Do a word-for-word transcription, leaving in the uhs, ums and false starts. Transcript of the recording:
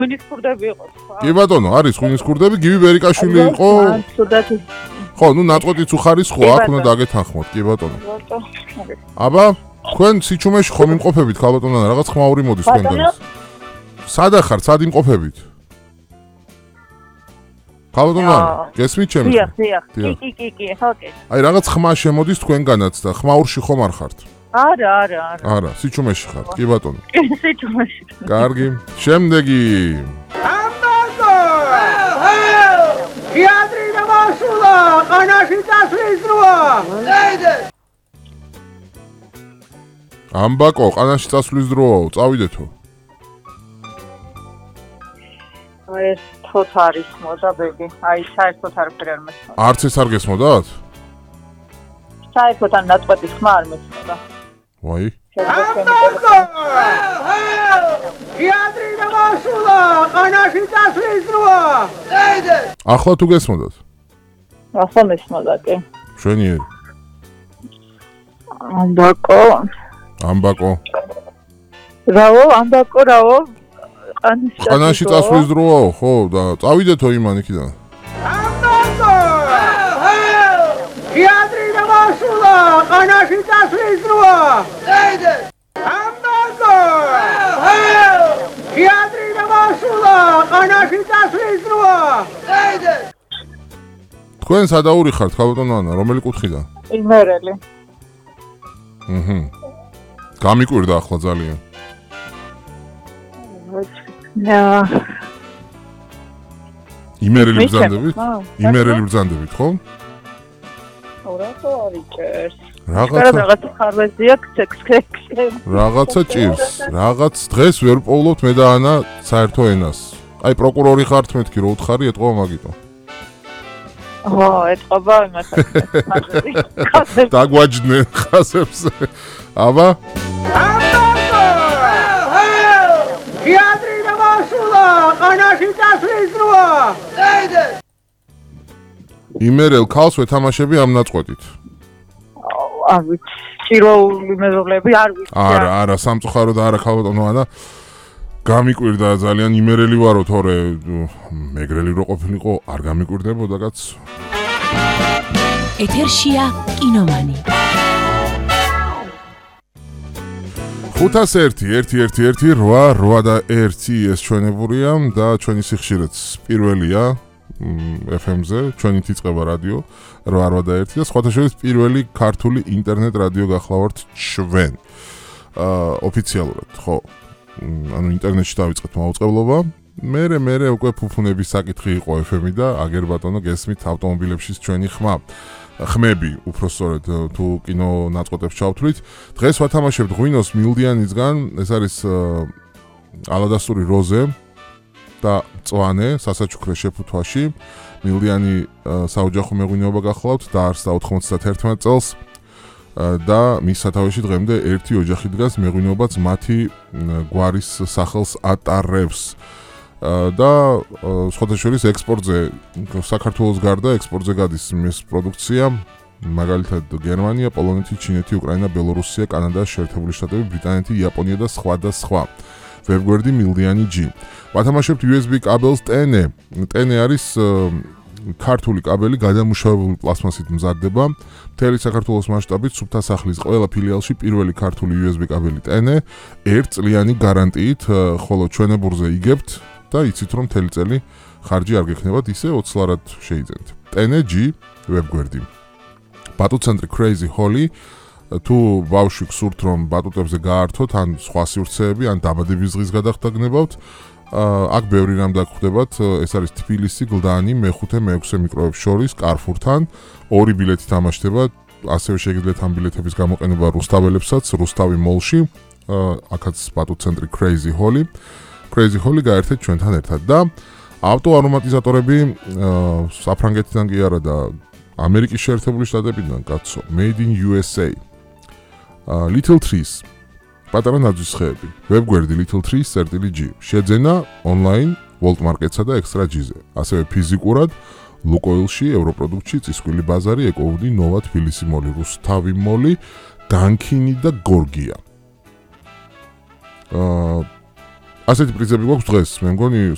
ღვინის ქურდები იყო სხვა. კი ბატონო, არის ღვინის ქურდები, გივი ბერიკაშვილი იყო. ხო, ნუ ნაწყვეტიც უხარის ხო, აქ უნდა დაგეთანხმოთ, კი ბატონო. აბა, თქვენ სიჩუმეში ხომ იმყოფებით, ქალბატონო, რაღაც ხმაური მოდის თქვენგან. სად ახარ, სად იმყოფებით? ქალბატონო, გესმით ჩემს? დიახ, დიახ. კი, კი, კი, კი, ხო, კი. აი, რაღაც ხმა შემოდის თქვენგანაც და ხმაურში ხომ არ ხართ? არა, არა, არა. არა, სიჩუმეში ხართ, კი ბატონო. კი, სიჩუმეში. კარგი. შემდეგი. ამბაკო! თეატრი დამასულა, ყანაში წასვლის დროა. დაიდე. ამბაკო, ყანაში წასვლის დროაო, წავიდეთო. ეს თოთ არის მოდა ბეგი. აი, საერთოდ არაფერი არ მესმოდა. არც ეს არ გესმოდათ? საერთოდ ან ნაწყვეტის ხმა არ მესმოდა. ვაი. ამბაკო! თეატრი დამასულა, ყანაში წასვლის დროა. დაიდე. ახლა თუ გესმოდათ? ახლა მესმოდა კი. შვენიერი. ამბაკო. ამბაკო. რაო, ამბაკო, რაო. ყანაში წასვლის დროაო, ხო, და წავიდეთო იმან იქიდან. ამბაკო! თეატრი დამასულა, ყანაში წასვლის დროა. დაიდე. ამბაკო! თეატრი დამასულა, ყანაში წასვლის დროა. დაიდე. თქვენ სადაური ხართ, ქალბატონო ანა, რომელი კუთხიდან? იმერელი. აჰა. გამიკვირდა ახლა ძალიან. ნა. იმერელი ბრძანდებით? იმერელი ბრძანდებით, ხო? ორათო არიჭერს. რაღაცა რაღაცა ხარვეზია ქსექსექსე. რაღაცა ჭირს. რაღაც დღეს ვერ პოვლობთ მე და ანა საერთო ენას. აი პროკურორი ხართ მეთქი რო უთხარი ეთყობა მაგიტო. ო, ეთყობა იმასაც. დაგვაჯდნენ ხაზებს. აბა? თეატრი დამასულა, ყანაში წასვლის დროა. დაიდე. იმერელ ქალს ვეთამაშები ამ ნაწყვეტით. არ ვიცი, ჭიროული მეზობლები არ ვიცი. არა, არა, სამწუხაროდ არა ქალბატონო ანა. გამიკვირდა ძალიან იმერელი ვარო, თორე მეგრელი რო ყოფილიყო, არ გამიკვირდებოდა კაც. ეთერშია კინომანი. ხუთას ერთი, ერთი, ერთი, ერთი, რვა, რვა და ერთი ეს ჩვენებურია და ჩვენი სიხშირეც პირველია ეფ ემ-ზე, ჩვენით იწყება რადიო რვა, რვა და ერთი და სხვათა შორის პირველი ქართული ინტერნეტ რადიო გახლავართ ჩვენ. აა ოფიციალურად, ხო. ანუ ინტერნეტში დავიწყეთ მაუწყებლობა. მერე მერე უკვე ფუფუნების საკითხი იყო ეფ ემი და აგერ ბატონო გესმით ავტომობილებშიც ჩვენი ხმა. ხმები, უფრო სწორედ თუ კინო ნაწყვეტებს ჩავთვლით. დღეს ვათამაშებთ ღვინოს მილდიანისგან, ეს არის ალადასტური როზე და მწვანე სასაჩუქრე შეფუთვაში. მილდიანი საოჯახო მეღვინეობა გახლავთ, დაარსდა ოთხმოცდაათი წელს და მის სათავეში დღემდე ერთი ოჯახი დგას, მეღვინეობაც მათი გვარის სახელს ატარებს. და სხვათა შორის ექსპორტზე საქართველოს გარდა ექსპორტზე გადის მის პროდუქცია, მაგალითად გერმანია, პოლონეთი, ჩინეთი, უკრაინა, ბელორუსია, კანადა, შეერთებული შტატები, ბრიტანეთი, იაპონია და სხვა და სხვა. ვებგვერდი მილდიანი ჯი. ვათამაშებთ იუ ეს ბი კაბელს ტენე. ტენე არის ქართული კაბელი, გადამუშავებული პლასმასით მზადდება. მთელი საქართველოს მასშტაბით სუფთა სახლის ყველა ფილიალში პირველი ქართული იუ ეს ბი კაბელი ტენე, ერთწლიანი გარანტიით, ხოლო ჩვენებურზე იგებთ და იცით რომ მთელი წელი ხარჯი არ გექნებათ, ისე ოცლარად შეიძენთ. ტენე ჯი ვებგვერდი. ბატუტცენტრი Crazy Holly, თუ ბავშვი გსურთ რომ ბატუტებზე გაართოთ, ან სხვა სივრცეები, ან დაბადების დღის გადახდა გნებავთ, აქ ბევრი რამ დაგხვდებათ, ეს არის თბილისი, გლდანი, მეხუთე, მეექვსე მიკროებს შორის, კარფურთან, ორი ბილეთი თამაშდება, ასევე შეგიძლიათ ამ ბილეთების გამოყენება რუსთაველებსაც, რუსთავი მოლში, აქაც ბატუტცენტრი Crazy Holly. Crazy Holly გაერთეთ ჩვენთან ერთად და ავტო არომატიზატორები საფრანგეთიდან კი არა და ამერიკის შეერთებული შტატებიდან კაცო, Made in იუ ეს έი. Little Trees, პატარა ნაძვის ხეები, ვებგვერდი little trees წერტილი ჯი, შეძენა ონლაინ, World Market-სა და Extra G-ზე, ასევე ფიზიკურად, ლუკოილში, ევროპროდუქტში, წისქვილი ბაზარი, ეკოუდი, ნოვა, თბილისი მოლი, რუსთავი მოლი, განქინი და გორგია. აა ასეთი პრიზები გვაქვს დღეს, მე მგონი